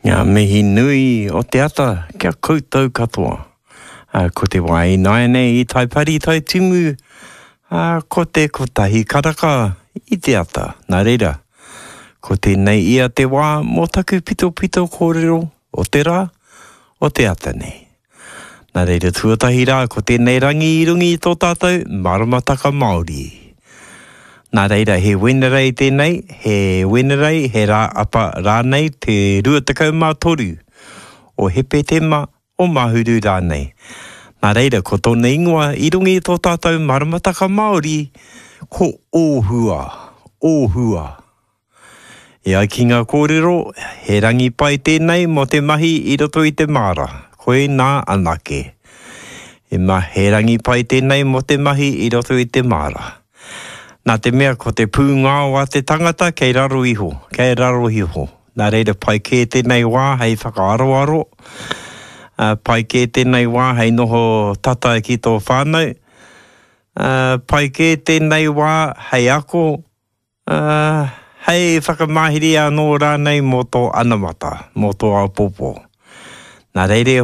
Ngā mihi nui o te ata kia koutou katoa. Ko te wā ināianei i Taipari Taitimu, ko te kotahi karaka i te ata. Nā reira, ko tēnei ia te wā mō taku pitopito kōrero o te rā, o te ata nei. Nā reira tuatahi rā ko tēnei rangi i runga i tō tātou maramataka Māori. Nā reira he Wenerei tēnei, he Wenerei, he rā apa rānei te 23 o Hepetema, o Mahuru rānei. Nā reira ko tōna ingoa i runga i tō tātou maramataka Māori ko Ōhua, Ōhua. E ai ki ngā kōrero, he rangi pai tēnei mō te mahi i roto i te māra, koinā anake. He ma, he rangi pai tēnei mō te mahi i roto i te māra. Nā te mea ko te pūngao a te tangata kei raro iho, kei raro iho. Nā reira pai kē tēnei wā hei whakaaroaro, ā, pai kē tēnei wā hei noho tata ki tō whānau, ā, pai kē tēnei wā hei ako, Ā, hei whakamāhere anō rānei mō tō anamata, mō tō āpōpō. Nā reira e.